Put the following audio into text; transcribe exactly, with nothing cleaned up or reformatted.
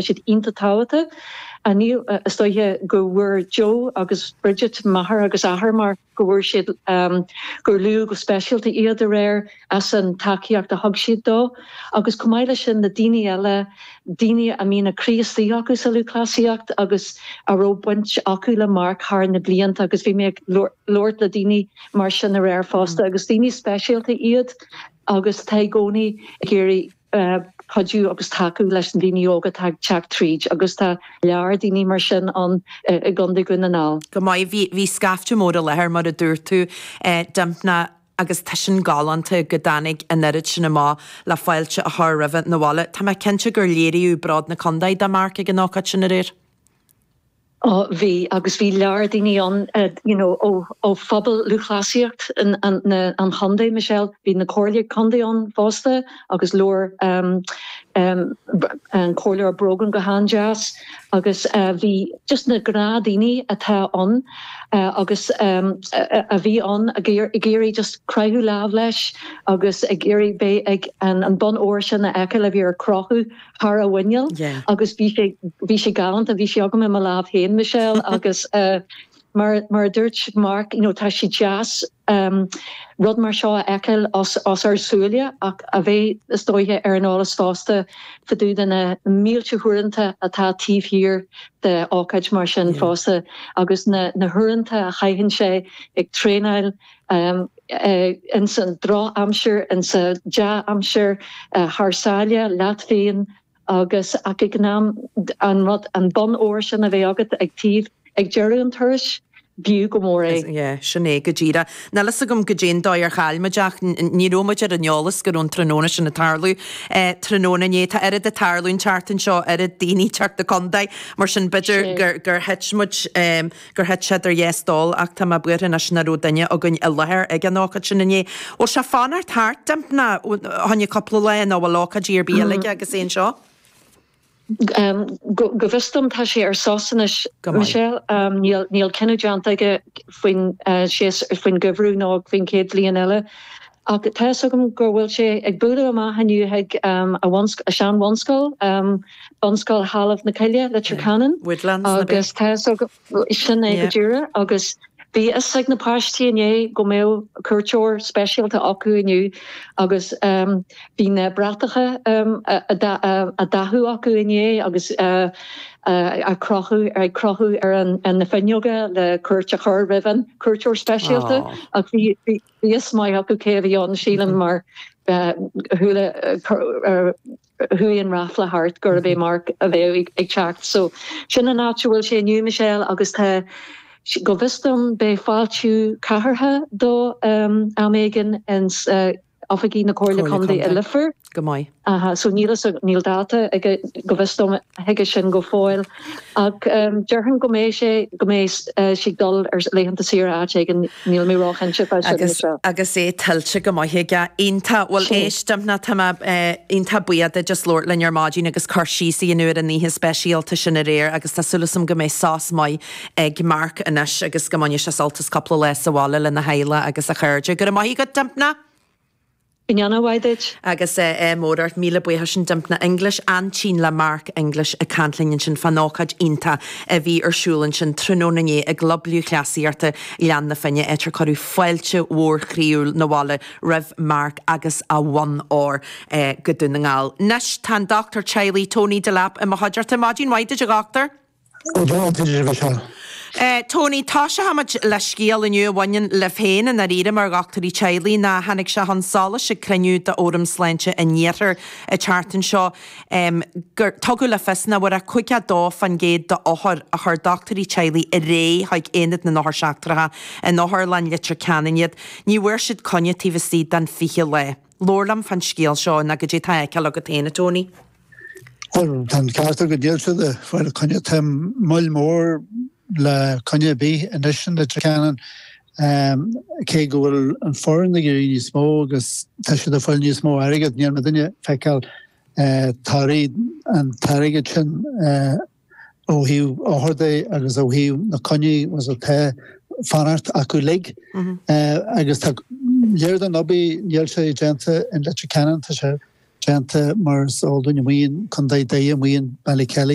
siad iontach tábhachtach. Níl is dóiche go bhfuair Joe agus Bridget máthair agus athair mar go bhfuair siad um, gur luadh go speisialta iad aréir as an tacaíocht a thug siad dó, agus chomh maith leis sin na daoine eile daoine a mbíonn a gcroí istigh acu sa lúthchleasaíocht agus a raibh baint acu le Mark thar na blianta agus bhí mé ag labhairt le daoine mar sin aréir fosta agus daoine speisialta iad agus tá i gcónaí ag iarraidh uh, cuidiú agus tacú leis na daoine óga ag teacht tríd agus tá lear daoine mar sin an uh, i gContae Dhún na nGall. Go maith bhí bhí scaifte mór i láthair mar a dúirt tú eh, Dympna agus tá sin galánta go dtáinig an oiread sin amach le fáilte a chur roimhe na bhaile. Tá mé cinnte gur léiríodh bród na contae do Mark ag an ócáid sin aréir. Oh, bhí agus bhí lear daoine an uh, you know, ó, ó phobal lúthchleasaíocht an, an, na, an chontae Michelle, bhí na comhairle contae ann fosta agus labhair um, um, an Comhairleoir Brogan go han-deas agus uh, bhí just na gnáthdaoine atá ann uh, agus um, a, a bhí ann ag iarraidh just croitheadh lámh leis agus ag iarraidh bheith ag an, an bonn óir sin a fheiceáil a bhí ar crochadh thar a mhuineál Yeah. agus bhí sé bhí sé galánta bhí sé agam i mo lámh féin Michelle agus uh, mar mar dúirt Mark you know, tá sé deas um, rud mar seo a fheiceáil os, os ár súile ach a bheith is dóiche ar an eolas fosta fá dtaobh de na mílte uaireanta atá taobh thiar de ócáid mar sin Yeah. fosta agus na, na huaireanta a chaitheann sé ag traenáil um, uh, in san drochaimsir in sa dea-aimsir uh, thar sáile leat féin agus ach ag an am an rud an bonn óir sin a bheith agat ag taobh ag deireadh an turais b'fhiú go mór é. Yeah, sin é go díreach. Níl a fhios agam goidé an dóigh ar chaill muid ach ní raibh muid ar an eolas go raibh an tráthnóna sin ag tarlú. Eh, tráthnóna inné tá oiread ag tarlú an tseachtain seo oiread daoine teacht na contae mar sin b'fhéidir Sé. gur gur thit muid um, gur thit sé ar dheis dul ach tá mé buartha anois nach raibh duine againn i láthair ag an ócáid sin inné. Bhfuil sé fanacht thart Dympna tháinig cúpla lá nó bhfuil ócáidí ar bith eile agus é seo? Um, go go bhfios dom tá sé ar sos anois Go maith. Michelle um, níl níl cinneadh déanta aige faoin uh, sé faoin gheimhreadh nó faoin chéad bhliain eile. Ach tá agam go bhfuil sé ag bualadh amach inniu ag um, a, bhuns- a sean-bhunscoil um, bunscoil Thalamh na Cille Leitir Ceanainn Woodlands na agus tá sin é Yeah. go díreach agus bhí fhios ag na páistí inné go mbeadh cuairteoir speisialta acu inniu agus um, bhí na bratacha um, a, a, da- a, a dathú acu inné agus uh, uh, a crochadh ar crochadh ar an, an na fuinneoga le cuairt a chur roimh an cuairteoir speisialta Oh. ach bhí bhí fhios maith acu cé bhí ann sílim mar uh, chuala uh, chuaigh an ráfla thart gurb é Mark a bheadh ag, ag teacht. So sin an áit a bhfuil sé inniu Michelle agus tá go bhfios dom beidh fáiltiú cathartha dó um, am éigin ins uh, oifigí na Comhairle Comhairle Contae Contae. i Leifear. Go maith. Aha, so níl so níl dáta ag go bhfios dom chuige sin go fóill ach um, déarfainn go mbeidh sé go mbeidh uh, sé dul ar laethanta saoire áit éigin níl mé róchinnte fá sin agus Michelle. agus é tuillte go maith aige iontach bhfuil Sin. éist Dympna tá mé iontach buíoch de just labhairt linn ar maidin agus cur síos a dhéanamh ar an oíche speisialta sin aréir agus tá súil agam go mbeidh sos maith ag Mark anois agus go mbainfidh sé sult as cúpla lá sa bhaile lena theaghlach agus a chairde. Go maith go Dympna? Go ndéana mhaith duit. Agus é mór míle buíochas sin Dympna English aintín le Mark English ag caint linn sin fán ócáid iontach a bhí ar siúl ansin tráthnóna inné i gClub Lúthchleasaíochta Ghleann na Finne áit ar cuireadh fáilte mhór chroíúil na bhaile roimh Mark agus a bhonn óir eh, go Dún na nGall. Anois tá dochtúir teaghlaigh Tony Delap i mo chuideachta maidin mhaith duit a dhochtúir? Ó Uh, Tony tá sé hamid le scéal inniu a bhaineann le féin an aríre mar dhochtúirí teaghlaigh ná tháinig sé chun solais ag cruinniú de Fhóram Sláinte an Iarthair an tseachtain seo um, gur tugadh le fios nach bhfuair ach caoga dó faoin gcéad d'othair a chuir dochtúirí teaghlaigh ar aghaidh chuig aonad na n-othar seachtracha in Otharlann Leitir Ceanainn iad, ní bhfuair siad coinne taobh istigh den fiche lá. Labhair liom fán scéal seo ná goidé tá feiceáil agat féin Tony. Well tá ceartar go díalsa de fáil coinne tá moill mór le coinne bí anois in Leitir Ceanainn um, cé go bhfuil an foireann ag éirí níos mó agus tá siad ag fáil níos mó airgead níl mé duine feiceáil uh, tarí an t-airgead sin uh, ó thaobh othar de agus ó thaobh na coinní was atá fanacht acu lig uh, agus tá léir den obair níl sé déanta in Leitir Ceanainn tá sé déanta mar is eol dúinn amuigh in Contae Doire amuigh in Ballykelly.